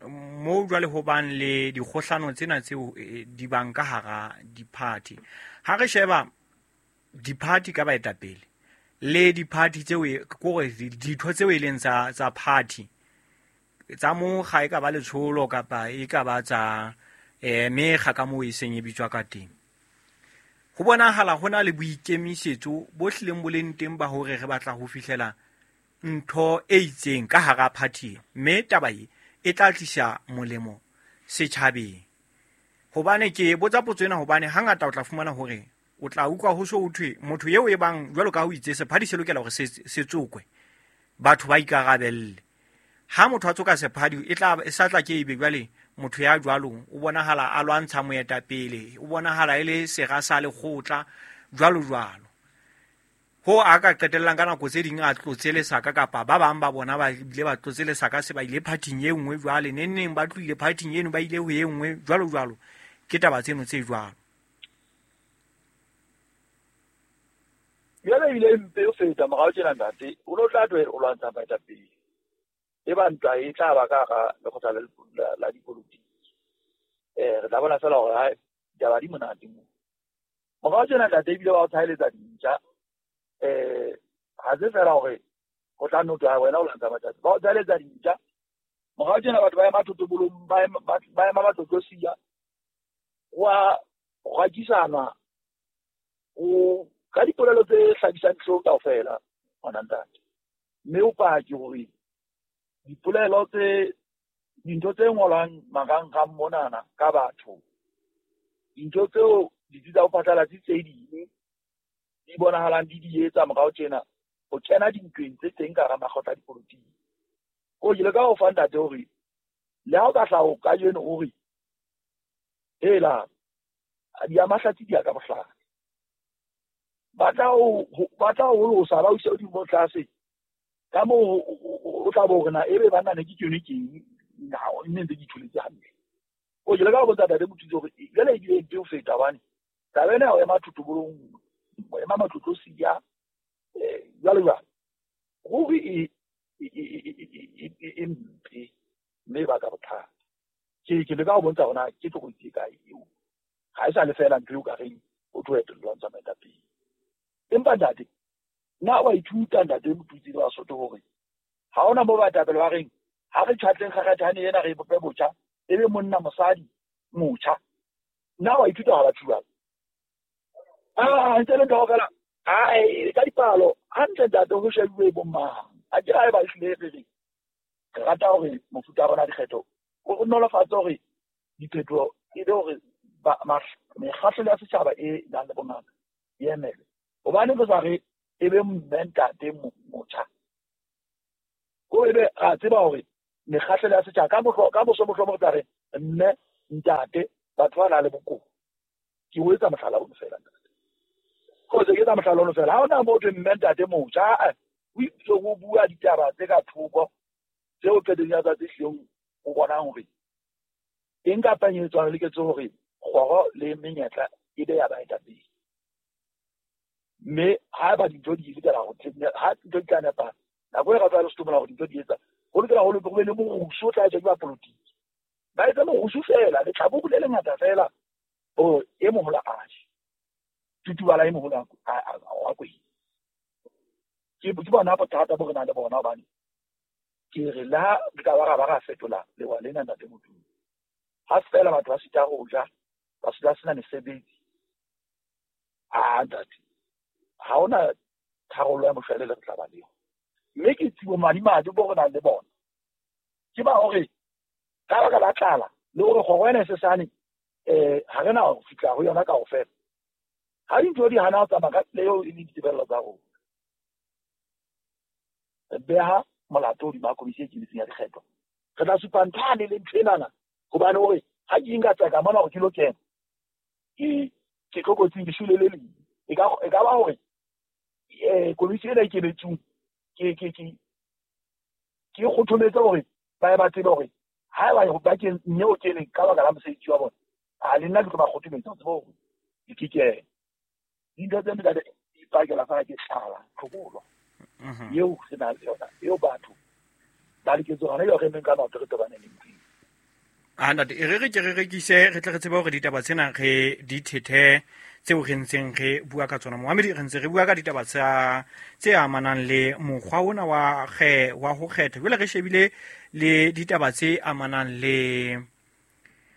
mo jwale ho bang le dikgohlano tsena tseo di bang ka hara di-party. Ha re sheba di-party ka baetapele le di-party tseo kore ditho tseo e leng tsa party tsa mokga, e ka ba letsholo kapa e ka ba tsa mekga ka moo e seng e bitswa ka teng, ho bonahala ho na le boikemisetso bo hlileng bo leng teng ba hore re batla ho fihlela ntho e itseng ka hara party, mme taba e tla tlisa molemo setjhabeng. Hobane ke botsa potso ena hobane hangata o tla fumana hore o tla utlwa ho so ho thwe motho eo e bang jwalo ka ho itse sephadi se lokela hore se tsokwe, batho ba ikarabelle. Ha motho a tsoka sephadi e tla e sa tla ke ebe jwale motho ya jwalo o bonahala a lwantsha moetapele, o bonahala e le sera sa lekgotla jwalo jwalo. Ho a ka qetellang ka nako tse ding a tlotse lesaka kapa ba bang ba bona ba ile ba tlotse lesaka se ba ile phathing e nngwe jwale neneng ba tlohile phathing eno ba ile ho e nngwe jwalo jwalo. Ke taba tseno tse jwalo. Jwale ebile mpe o feta morao tjena ntate, o no tla twe o lwantsha baetapele. E ba ntwa e tla ba ka hara lekgotla la dipolotiki. Re tla bona fela hore ha ditaba di monate moo. Morao tjena ntate ebile ba o tshaeletsa dintja. Ha se fela hore ho tla no twa wena o lwantsha baetapele. Ba o tshaeletsa dintja. Morao tjena batho ba ema thotobolong, ba ema matlotlosiya. Wa rakisana o ka dipolelo tse hlabisang dihlong kaofela ngwana ntate. Mme o pake hore dipolelo tse dintho tse ngolwang marangrang monana ka batho, dintho tseo ditsi tsa ho phatlalatsa tse ding di bonahalang di di etsa morao tjena ho kena dintweng tse teng ka hara makgotla a dipolotiki. Ko ke leka ho fa ntate hore le ha o ka hlaha kajeno o re hela di a mahlatsi di a ka bohlale, ba tla o losa ba o ise hodimo tlase ka moo o tla bo hore na ebe banna ne ke tsone keng nne ntse ke itholetse hantle. O ke leka ho botsa ntate Motutsi hore jwale ebile mpe ho feta hobane taba ena ya ho ema thotobolong, ho ema matlotlosiya jwalo jwalo, ruri e mpe mme e baka bothata. Ke leka ho bontsha hore na ke tlokotsi e kae eo. Ha e sa le fela ntho eo ka reng o tlo etellwa lwantsha baetapele. Empa ntate, nna wa ithuta ntate Motutsi le Basotho hore ha hona mo baetapele ba reng ha re tjhatleng kgakgathane ena re bope botjha ebe monna mosadi motjha. Nna wa ithuta ha batho jwalo. Ntse le ntho fela ka dipalo hantle ntate ho shebuwe bo mang. A ke ha e ba hlile re re rata hore mofuta wa rona dikgetho o nolofatse hore diphetoho e be hore mekgahlelo ya setjhaba e nang le bongata e emele. Hobane re sa re e be mme ntate motjha. Ko ebe ra tseba hore mekgahlelo ya setjhaba ka moso mohlomong re tla re mme ntate batho ba nang le bokowa. Ke o etsa mohlala ono feela ntate. Ko se ke etsa mohlala ono feela. Ha hona motho mme ntate motjha, o itse o bua ditaba tse ka thoko tseo qetellong ya tsatsi hleng o bonang hore eng kapa eng e tswang le ketso hore kgoro le menyetla e be ya baetapele. Mme haeba dintho di lokela ho ha dintho di tla nepahala, nako e re tla re hlokomela hore dintho di etsa, ho lokela ho be le morusu o tla etswa ke bapolotiki. Ba etsa morusu feela, letlhaburu le lengata feela, hore e moholo a je. Tutubala e moholo a kwenya. Ke bona bothata bo re nang le bona hobane ke re le ha re ka ba ra ba ra fetola lewa lena ntate Modimo. Ha feela batho ba sita ho ja, ba sita sena mesebetsi. Ah ntate, ha hona tharollo ya moshwelele re tla ba le yona. Mme ke tsibo madimabe bo re nang le bona. Ke ba hore ka baka la tlala le hore kgoro ena e sesane ha re na ho fihla ho yona kaofela. Ha dintho di hana ho tsamaya ka tsela eo e leng ditebello tsa rona. Re beha molato hodima komisi e ikemetseng ya dikgetho. Re tla supa nthane le ntho enana hobane hore ha ke nka tseka mona hore ke lo kena, ke tlokotsing, ke shwele le leng. E ka ba hore komisi ena e ikemetseng ke kgothometse hore ba ye ba tsebe hore haeba ba ke mme o keneng ka baka la mosebetsi wa bona, a le nna ke tlo ba kgothometsa ho tseba hore ke kene. Dintho tse ntate di ipakela feela ke tlala, tlhobolo. Eo re nang le yona, eo batho ba loketse hona jwale re emeng ka maoto re tobane le ntho eo. Ah ntate, e re re ke re rekise, re tle re tsebe hore ditaba tsena re di thethe tseo re ntseng re bua ka tsona. Moamedi, re ntse re bua ka ditaba tse amanang le mokgwa ona wa ho kgetha. Jwale re shebile le ditaba tse amanang le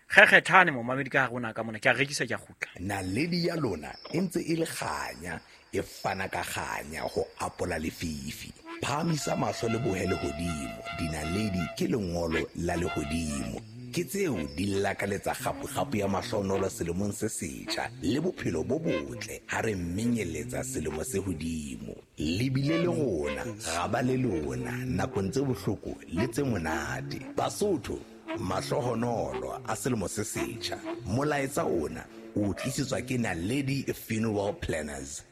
kgekgethane momamedi ka hare ona ka mona. Ke a rekisa, ke a kgutla. Naledi ya lona e ntse e le kganya, e fana ka kganya ho apola lefifi. Phahamisa mahlo le bohe lehodimo, dinaledi ke lengolo la lehodimo. Ke tseo di lakaletsa kgapu-kgapu ya mahlonolo selemong se setjha le bophelo bo botle ha re menyeletsa selemo se hodimo. Le bile le rona, ra ba le lona nakong tse bohloko le tse monate. Basotho, mahlohonolo a selemo se setjha. Molaetsa ona o tlisetswa ke Naledi Funeral Planners.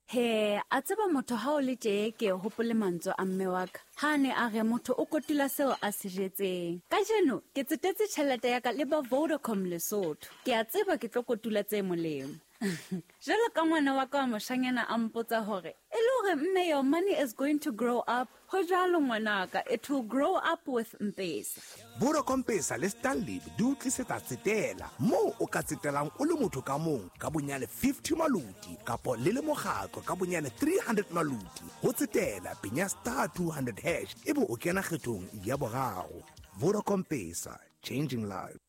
He, a tseba motho ha o le tje ke hopole mantswe a mme wa ka. Ha ne a re motho o kotula seo a se jetseng. Kajeno ke tsetetse tjhelete ya ka le ba Vodacom Lesotho. Ke a tseba ke tlo kotula tse molemo. Jwalo ka ngwana wa ka wa moshanyana a mpotsa hore e le hore mme your money is going to grow up. Ho jwalo ngwanaka, it will grow up with M-Pesa. Vodacom Pesa le Stanley di o tlisetsa tsetela moo o ka tsetelang o le motho ka mong ka bonyane 50 maluti kapo le le mokgatlo ka bonyane 300 maluti. Ho tsetela penya star 200 hash ebe o kena kgethong ya boraro. Vodacom Pesa, changing lives.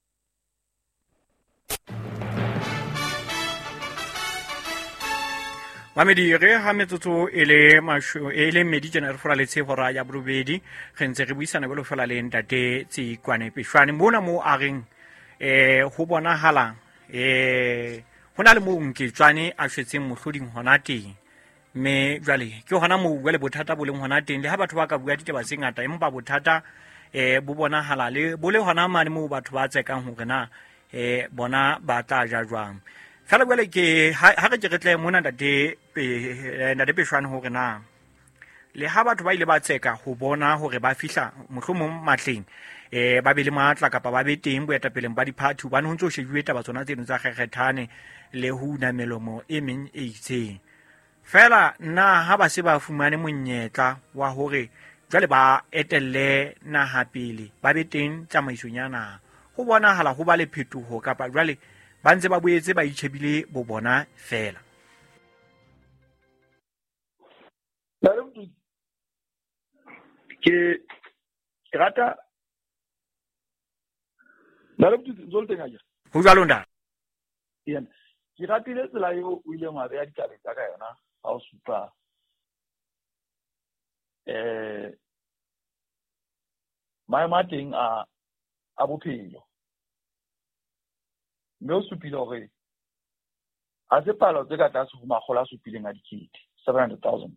Mamedi, re ha metsotso e le e le mmedi tjena re furaletse hora ya borobedi, re ntse re buisana jwalo feela le ntate Tsikwane Peshwane mona moo a reng ho bonahala ho na le moo Nketswane a shwetseng mohloding hona teng. Mme jwale ke hona moo jwale bothata bo leng hona teng, le ha batho ba ka bua ditaba tse ngata empa bothata bo bonahala le bo le hona mane moo batho ba tsekang hore na bona ba tla ja jwang. Fela jwale ke ha re ke re tle mona ntate Peshwane hore na le ha batho ba ile ba tseka ho bona hore ba fihla mohlomong matleng ba be le matla kapa ba be teng boetapeleng ba diphathi, hobane ho ntso shejuwe taba tsona tseno tsa kgekgethane le ho una melomo e meng e itseng. Fela nna ha ba se ba fumane monyetla wa hore jwale ba etelle naha pele, ba be teng tsamaisong ya naha, ho bonahala ho ba le phetoho kapa jwale ba ntse ba boetse ba itjhebile bo bona fela. Ke rata ho jwalo ntate. Ke ratile tsela eo o ileng wa beha ditaba tsa ka yona ha o supa maemo a teng a bophelo. Mme o supile hore Ha se palo tse ka tlase ho 700,000, 700,000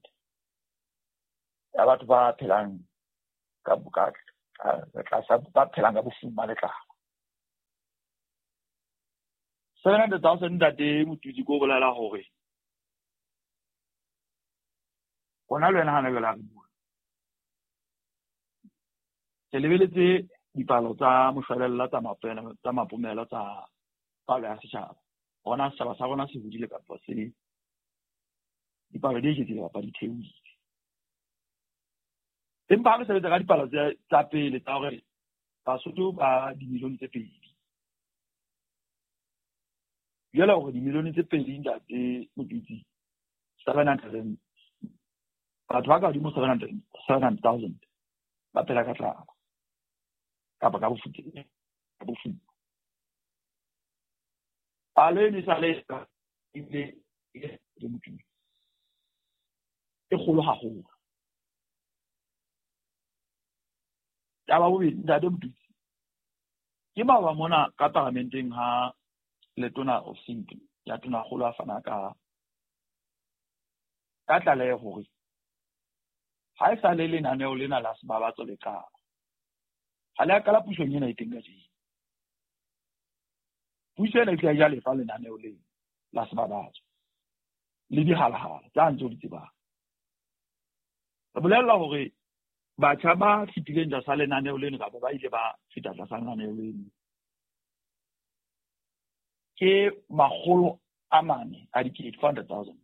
ya batho ba phelang ka tlasa, ba phelang ka bofuma le tlala. 700,000 ntate Motutsi, ko bolela hore hona le wena hana jwale ha re bua, ke lebeletse dipalo tsa moshwelella tsa mapomelo tsa palo ya setjhaba. Hona setjhaba sa rona se hodile kapa se dipalo di eketsehile kapa di theohile. Empa ha re sebetsa ka dipalo tsa pele tsa hore Basotho ba dimilione tse 2. Jwale hore dimilione tse 2 ntate Motutsi, 700 batho ba ka hodimo 700,000 ba phela ka tlala kapa ka bofuma. Palo eno e sale ebile e kgolo haholo. Taba bobedi ntate Motutsi, ke maoba mona ka paramenteng ha letona ofising ya tonakgolo a fana ka tlaleho hore ha e sale lenaneo lena la Sebabatso le qala, ha le a qala pusong ena e teng kajeno. Puso ena e tla ja lefa lenaneo lena la Sebabatso le dihalahala tsa ntse o di tsebang. Re bolella hore batjha ba fetileng tlasa lenaneo leno kapa ba ile ba feta tlasa lenaneo leno ke 400,000, 400,000.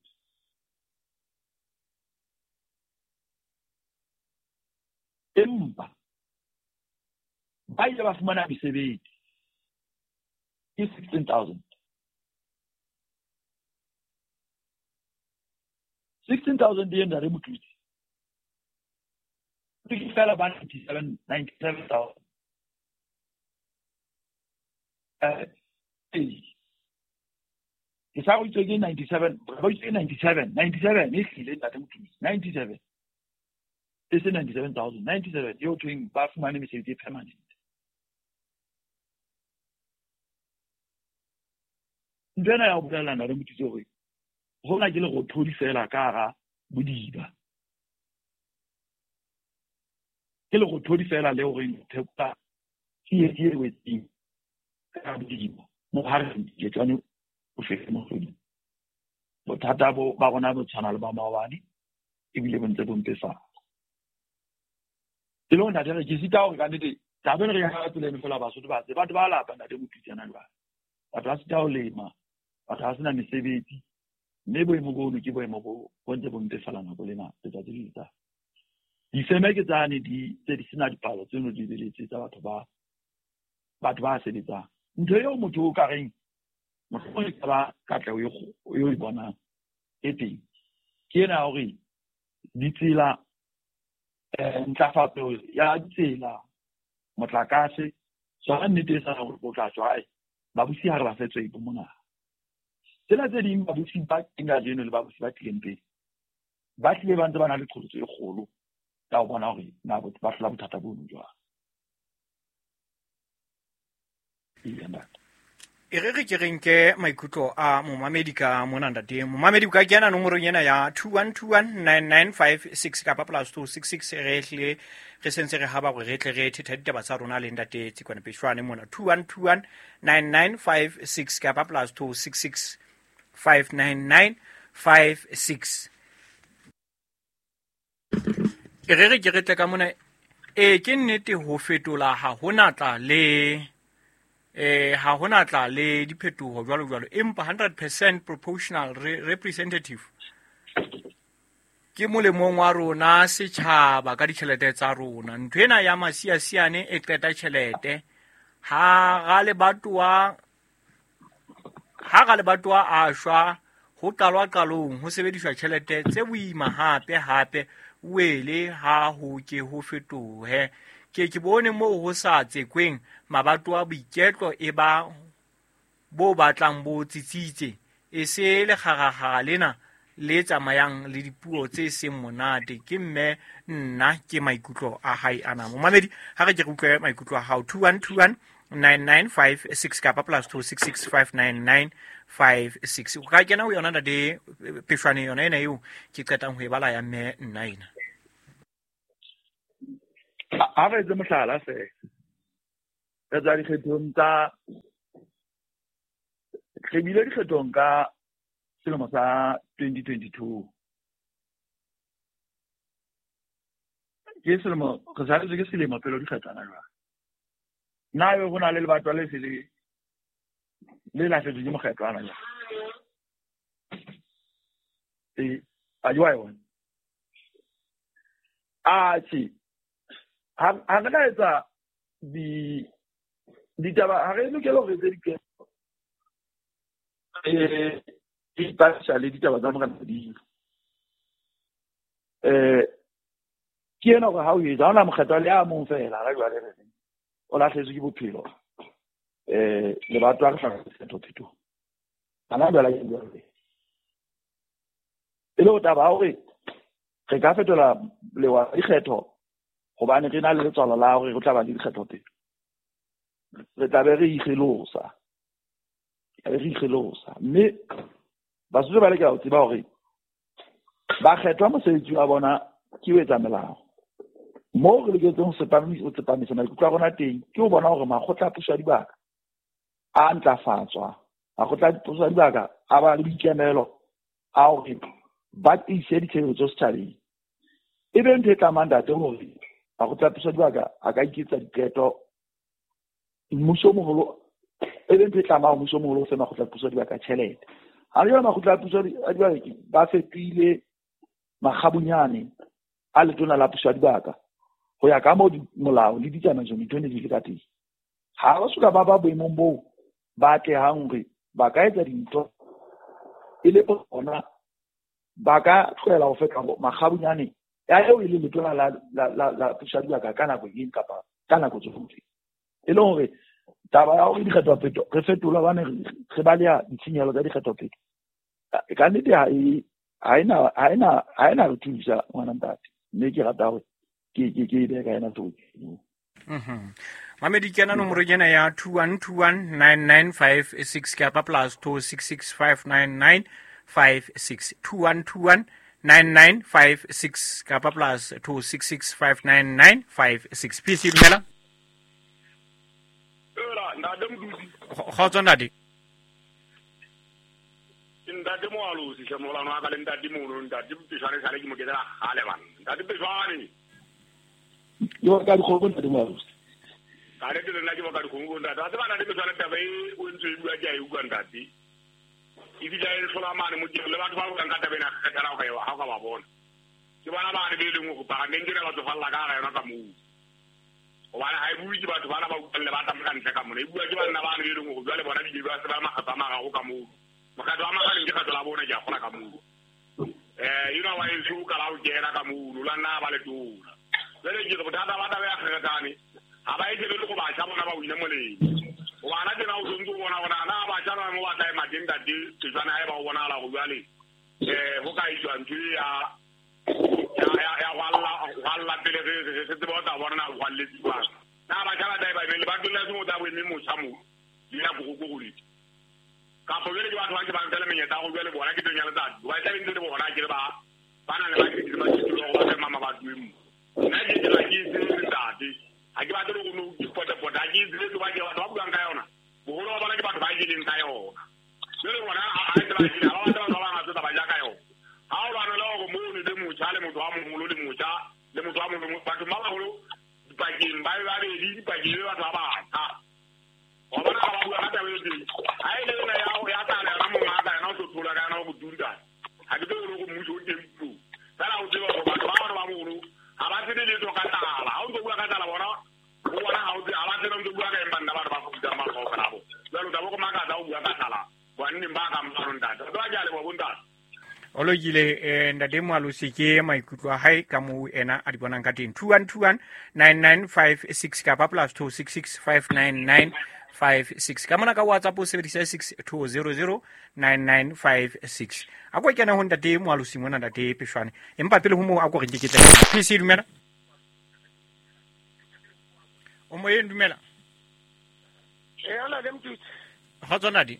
Empa ba ile ba fumana mesebetsi ke 16,000. 16,000 e ntate Motutsi, ke fela ba 97,000. Ke sa go itse ke 97, ba itse 97, 97 e hlile ntate Motutsi, 97. E se 97,000, 97 eo thweng ba fumane mesebetsi e permanent. Ntho ena ya ho bolella ntate Motutsi hore hona ke lerothodi fela ka hara bodiba. Ke lerothodi fela le horeng phekola tsietsi e wetseng ka bodiba. Mo ha re diketswane o fele mohloding. Bothata bo ba rona bo tshwana le ba maobane ebile bo ntse bo mpefala. E le hore ntate re ke sita hore ka nnete taba ena re ya ka tsela eno fela Basotho ba tsebe. Batho ba lapa ntate Motutsi hana jwale. Batho ba sita ho lema, batho ba sena mesebetsi. Mme boemo bono ke boemo bo ntse bo mpefala nako le nako, letsatsi le letsatsi. Difeme ke tsane di tse di sena dipalo tseno di lebeletse tsa batho ba sebetsang. Ntho eo motho o ka reng mohlomong e ka ba katleho eo e bonang e teng ke ena ya hore ditsela, ntlafatso ya ditsela, motlakase, tsona nnete e sa hore o tla tswa babusi ha re ba fe tsebo mona. Tsena tse ding babusi ba teng kajeno le babusi ba tlileng pele ba tlile ba ntse ba na le qholotso e kgolo ya ho bona hore na ba hlola bothata bono jwang. E re ke re nke maikutlo a momamedi ka mona ntate. Momamedi o ka kena nomorong ena ya 21219956 kapa +266 re hle re sentse re haba hore re tle re thetha ditaba tsa rona le ntate Tsikwane Peshwane mona 21219956 kapa +266 59956. E re ke re tle ka mona. E ke nnete ho fetola ha hona tla le ha hona tla le diphetoho jwalo jwalo, empa 100% proportional representative ke molemong wa rona setjhaba ka ditjhelete tsa rona. Ntho ena ya masiasiane e qeta tjhelete. Ha ra lebatowa a shwa ho qalwa qalong ho sebediswa tjhelete tse boima hape hape wele ha ho ke ho fetohe. Ke bone moo ho sa tsekweng mabatowa boiketlo e ba bo batlang bo tsitsitse e se lekgarakgara lena le tsamayang le dipuo tse seng monate. Ke mme nna ke maikutlo a hae ana. Momamedi ha re ke re utlwe maikutlo a hao 2121 9956 kapa plus 266 599 56. O ka kena ho yona ntate Pheshwane, yona ena eo ke qetang ho e bala ya mme nna ena. Ha re etse mohlala feela, re tswa dikgethong tsa, re bile dikgethong ka selemo sa 2022. Ke selemo, re saletswe ke selemo pele dikgetho hona jwale. Na ebe ho na le lebatwa le se le lahletswe ke mokgetho hona jwale? A jwa yona. Atjhe, ha re ka etsa ditaba, ha re lokela hore re etse diqeto, re ipapisa le ditaba tsa Morena Modimo. Ke ena hore ha o etsa, ha hona mokgetho le a mong feela, ha jwale re reng o lahletswe ke bophelo. Lebatwa re hloka dikgetho phetoho. Hana jwale ke jwale. E le ho taba ya hore re ka fetola lewa la dikgetho hobane re na le letswalo la hore re tla ba le dikgetho pele. Re tla be re ikgelosa. Re ikgelosa. Mme Basotho ba lokela ho tseba hore ba kgethwa mosebetsi wa bona ke ho etsa melao. Moo re loketseng ho tsepamisa maikutlo a rona teng ke ho bona hore makgotla a puso ya dibaka a ntlafatswa. Makgotla a puso ya dibaka a ba le boikemelo a hore ba tiise ditshebeletso setjhabeng. E be ntho e tlamang ntate hore makgotla a puso ya dibaka a ka iketsa diqeto. Mmuso o moholo, e be ntho e tlamang mmuso o moholo o fe makgotla a puso ya dibaka tjhelete. Ha jwale makgotla a puso ya dibaka ba fetohile makgabunyane a letona la puso ya dibaka ho ya ka moo molao le ditsamaiso dintho ne di le ka teng. Ha ba soka ba ba boemong boo ba atlehang hore ba ka etsa dintho e le bona, ba ka tlohela ho feta makgabunyane ya eo e le letona la puso ya dibaka ka nako eng kapa ka nako tsohle. E le hore taba ya hore dikgetho pheto re fetola hobane re baleha ditshenyehelo tsa dikgetho pheto, ka nnete ha ena re thusa ngwana ntate. Mme ke rata hore ke e behe ka ena tsohle. Mamedi, kena nomoro ena ya 21219956 kapa plus 26659956. 21219956 kapa plus 26659956. PC dumela. Kgotso ntate. Ntate Moalosi, hle molano wa ka le ntate mono, ntate Pheshwane sale ke mo ketela kgale bana. Ntate Pheshwane. Ke wa ka dikgomo ntate Moalosi. Ka nnete le nna ke wa ka dikgomo ntate. Wa tseba ntate Pheshwane taba e o ntse e bua ke a e utlwa ntate. E fihla e hlola mane mo le batho ba buang ka taba ena kgethela ho ka ba bona. Ke bona bane be leng hore parlamente ena ba tsofalla ka hara yona ka moo. Hobane ha e bue ke batho bana ba utlwang le ba tsamaya ka ntle ka mona. E bua ke banna bane be leng hore jwale bona di ba se ba makgetho a mararo ka moo. Mokgatlo wa magaleng ke kgetho la bone ke a kgola ka moo. Ena wa heso o kala ho kena ka moo, la nna ba le tona. Jwale ke re bothata ba taba ya kgethane ha ba e shebele go batjha bona ba wine molemo. Hobane tjena o sontso o bona hore na batjha ba mo ba tla ema teng ntate Pheshwane ha eba o bonahala hore jwale ho ka etswa ntho e ya hwalla pele re tsebe ho tla bona na ho hwalletse jwang. Na batjha ba tla e ba emeng, lebatong la seng o tla bo eme motjha moo, le ya boroko. Kapo jwale ke batho ba ke ba nka le menyetla ya hore jwale bona ke teng ya letsatsi. Hoba e tla be ntse le bona ke le ba na le ba ke ba ke hore ba mama ba tlohe moo. Nna ke ke ke tsebe ntate. Ha ke batle hore no ke potapota, ha ke tsebe ba ke batho ba buang ka yona. Boholo ba bona ke batho ba jeleng ka yona. Jwale bona ha e ba jele, ha ba batla batho ba bangata ba ja ka yona. Ha o lwana le hore mono le motjha le motho wa moholo le motjha le motho wa moholo, batho ba baholo dipakeng ba be babedi, dipakeng be batho ba batjha. Wa bona ha ba bua ka taba e teng. Ha e le ena ya tlala yona mongaka yena o tlo thola ka yona ho bodudi ka. Ha ke tsebe hore mmuso o teng puo. Feela o tseba hore batho ba bana ba baholo ha ba tsebe letho ka tlala. Ha o ntso bua ka tlala bona, ho bona ha o tsebe, ha ba tsebe o ntso bua ka eng banna batho ba fudang ba kaofela bo. Jwale o tla bo go makatsa o bua ka tlala. Banneng ba kang bano ntate. Batho ba ke a leboha bo ntate. O lokile ntate Moalosi ke maikutlo a hae ka moo ena a di bonang ka teng. 21219956 kapa plus 26659956. Ka mona ka WhatsApp o sebedisa 62009956. A ko kena ho ntate Moalosi mona ntate Pheshwane. Empa pele ho moo a ko re nke ke tle. PC dumela. O moyeng dumela. Ee, ntate Mtutsi. Kgotso ntate.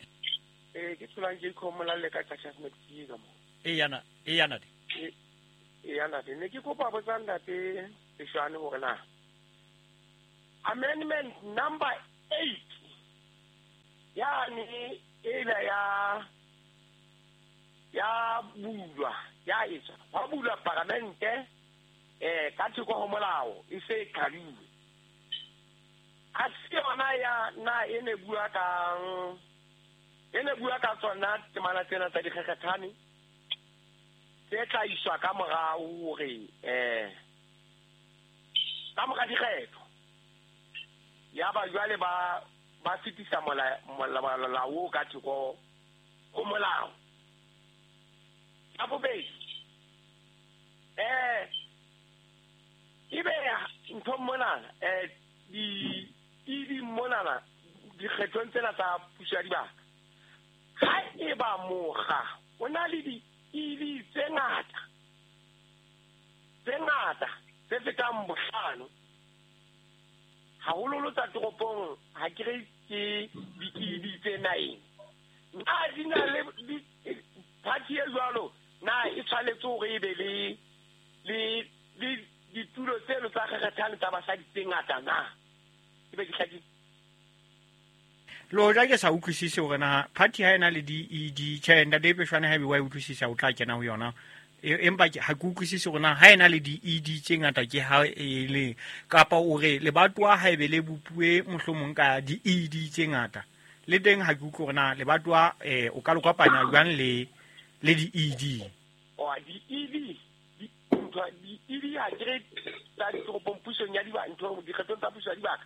Ee, ke tsholang ke ikhomola le ka Cassius McGee ka mo. Eya na, eya ntate. Eya ntate, ne ke kopa botsa ntate Peshwane hore na amendment number 8 yane ela ya bulwa ya etswa wa bulwa paramente ka thoko ho molao e se qadilwe. A se yona ya na e ne bua ka tsona temana tsena tsa dikgekgethane tse tla iswa ka morao hore ka mora dikgetho ya ba jwale ba fetisa molao ka thoko ho molao. Ya bobedi ebe ntho monana di monana dikgethong tsena tsa puso ya dibaka ha eba mokga o na le di-ED tse ngata tse fetang bohlano haholoholo tsa toropong ha ke re ke di-ED tse 9 na di na le party e jwalo na e tshwanetse hore e be le ditulo tseno tsa kgekgethane tsa basadi tse ngata na e be ke hlakile? Le hoja ke sa utlwisise hore na party ha ena le di-ED tjhe ntate Peshwane ha ebe wa e utlwisisa o tla kena ho yona, empa ha ke utlwisise hore na ha ena le di-ED tse ngata ke ha e le kapa o re lebatowa ha ebe le bopuwe mohlomong ka di-ED tse ngata le teng ha ke utlwe hore na lebatowa o ka le kopanya jwang le di-ED. O di-ED di-ED ha ke re tsa ditoropong pusong ya dibaka ntho dikgethong tsa puso ya dibaka.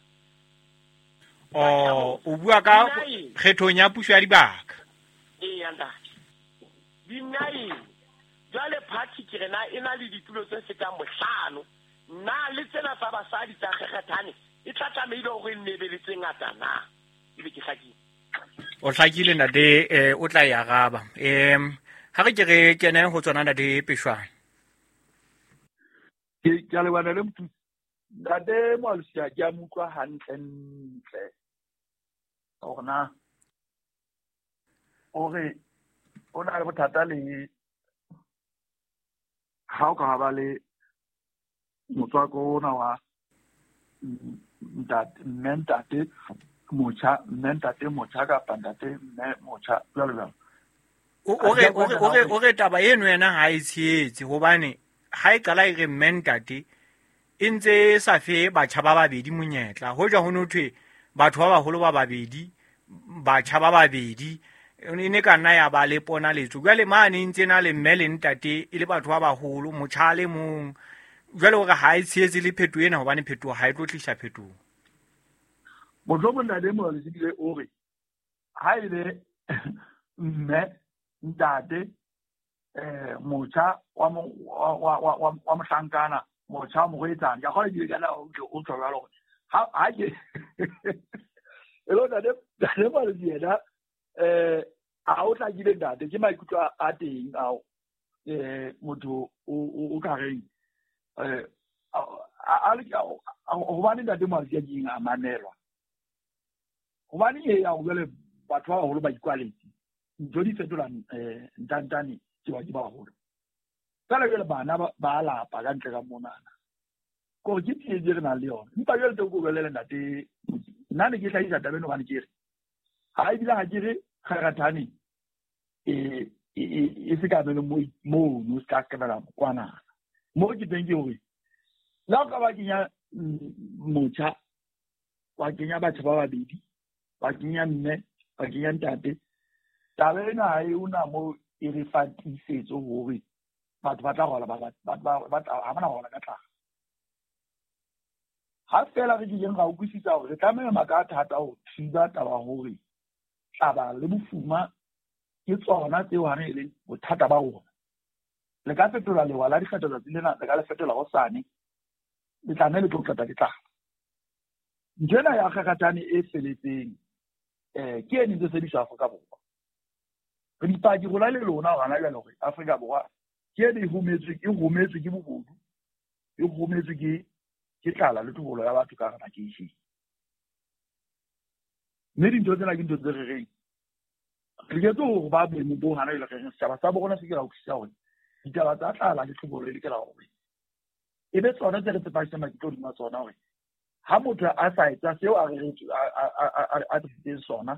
O bua ka kgethong ya puso ya dibaka. Ee ntate. Di 9 jwale party ke re na e na le ditulo tse fetang bohlano na le tsena tsa basadi tsa kgekgethane e tla tlamehile hore e nne be le tse ngata na ebe ke hlakile? O hlakile ntate, o tla e araba. Ha re ke re kene ho tsona ntate Peshwane. Ke a leboha le Mothusi. Ntate Moalosi ke a mo utlwa hantle-ntle hore na o re o na le bothata le ha o ka ba le motswako ona wa ntate mme ntate motjha mme ntate motjha kapa ntate mme motjha jwalo jwalo. O re taba eno yena ha e tshehetse hobane ha e qala e re mme ntate e ntse e sa fe batjha ba babedi monyetla. Hoja ho no thwe batho ba baholo ba babedi batjha ba babedi e ne ka nna ya ba le ponaletso. Jwale mane ntse na le mme le ntate e le batho ba baholo motjha le mong. Jwale hore ha e tshehetse le phetoho ena hobane phetoho ha e tlo tlisa phetoho. Mohlomong ntate Moalosi ebile o re ha ebe mme ntate motjha wa mohlankana motjha wa morwetsana ke a kgona ebile kana o tjho jwalo hore ha ke e le ntate Moalosi yena a o hlakile ntate ke maikutlo a teng ao motho o ka reng hobane ntate Moalosi a keng a mamelwa hobane e ya jwale batho ba baholo ba ikwaletse ntho di fetola ntantane ke ba ke baholo fela jwale bana ba lapa ka ntle ka monana kore ke tsietsi re nang le yona. Empa jwale teng ko bolele ntate nna ne ke hlahisa taba eno hobane ke re ha ebile ha ke re kgarathane e se ka bele mono se ka kebela kwanana mo ke teng ke hore la o ka ba kenya motjha wa kenya batho ba babedi wa kenya mme wa kenya ntate taba ena ha e ona mo e re fa tiisetso hore batho ba tla rola ba ha bana rola ka tlala. Ha fela re kileng ra utlwisisa hore re tlameha maka a thata ho thiba taba hore tlaba le bofuma ke tsona tseo ha re leng bothata ba rona. Le ka fetola lewa la dikgetho tsatsi lena, le ka le fetola hosane, le tla le tlo qeta ke tlala. Ntho ena ya kgakgathane e feletseng ke e ntse sebediswa Afrika Borwa. Re dipaki rona le lona hona jwale hore Afrika Borwa ke e hometswe ke bobodu, e hometswe ke tlala le tlhobolo ya batho ka hara makeishene. Mme dintho tsena ke ntho tse re reng re loketse hore ba boemo bo hana jwale, re reng setjhaba sa bo rona se ke ra utlwisisa hore ditaba tsa tlala le tlhobolo e lokela hore e be tsona tse re tsepamisang maikutlo hodima tsona, hore ha motho a sa etsa seo a reretswe a tlisitseng sona.